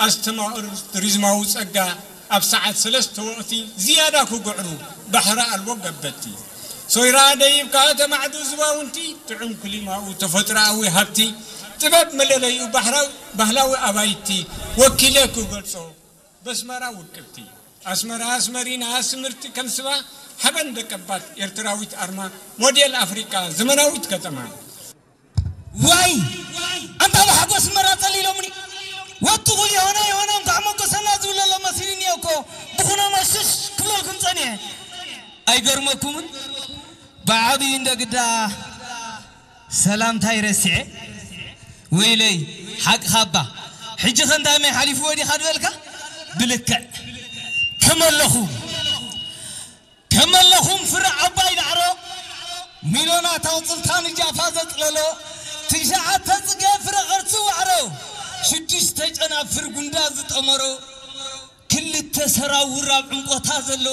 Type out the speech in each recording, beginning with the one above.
ኣስተማቕር ቱሪዝማዊ ጸጋ ኣብ ሰዓት ሰለስተ ወቕቲ ዝያዳ ክግዕሩ ባሕሪ ኣልቦ ገበቲ ሶይራ ደይብ ከኣ ተማዕዱ ዝባውንቲ ጥዑም ክሊማኡ ተፈጥሮኣዊ ሃብቲ ጥበብ መለለዩ ባህላዊ ኣባይቲ ወኪለ ክገልጾ በስመራ ውቅብቲ ኣስመራ ኣስመሪና ስምርቲ ከም ስባ ሓበን ደቀባት ኤርትራዊት ኣርማ ሞዴል ኣፍሪቃ ዘመናዊት ከተማ ዋይ ኣንታ ብሓጎስ መራ ጸሊሎምኒ ወትኹል የሆነ የሆነ እንኳዕ መጎሰና ዝብለሎ መሲልኒ እኮ ብኹኖ መሽሽ ክብለልኩም ጸኒሐ ኣይገርመኩምን ብዓብዩ እንደ ግዳ ሰላምታይ ረሲዐ ወይለይ ሓቅኻ ኣባ ሕጂ ኸንዳመይ ሓሊፍዎ ዲኻ ዝበልካ ብልክዕ ከመለኹ ከመለኹም ፍረ ዓባይ ዳዕሮ ሚሎናት ኣውፅልታ ንጃፋ ዘፅለሎ ትሽዓተ ፅገ ፍረ ቐርሲ ዋዕሮ ሽዱሽተ ጨናፍር ጉንዳ ዝጠመሮ ክልተ ሰራውር ኣብ ዕምቆታ ዘሎ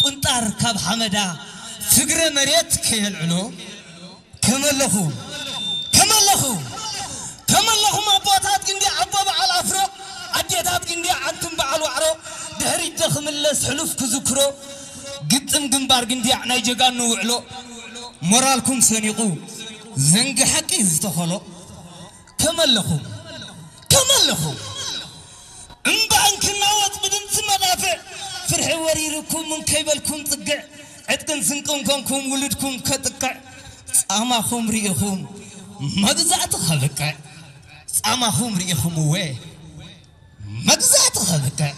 ቁንጣር ካብ ሓመዳ ፍግረ መሬት ከየልዕሎ ከመለኹም ከመለኹም ከመለኹም ኣቦታት ግንዲ ኣቦ በዓል ኣፍሮ ኣዴታት ግንዲ ዓንትን በዓል ዋዕሮ ድሕሪት ዶ ክምለስ ሕሉፍ ክዝክሮ ግጥም ግንባር ግንዲያዕ ናይ ጀጋኑ ውዕሎ ሞራልኩም ሰኒቑ ዘንጊ ሓቂ ዝተኸሎ ከመለኹም ከመለኹም እምባ እንክናወጥ ብድምፂ መዳፍዕ ፍርሒ ወሪርኩም እንከይበልኩም ፅግዕ ዕጥቅን ስንቅን ኮንኩም ውሉድኩም ከጥቅዕ ፃማኹም ርኢኹም መግዛእቲ ከብቅዕ ፃማኹም ርኢኹም እወ መግዛእቲ ከብቅዕ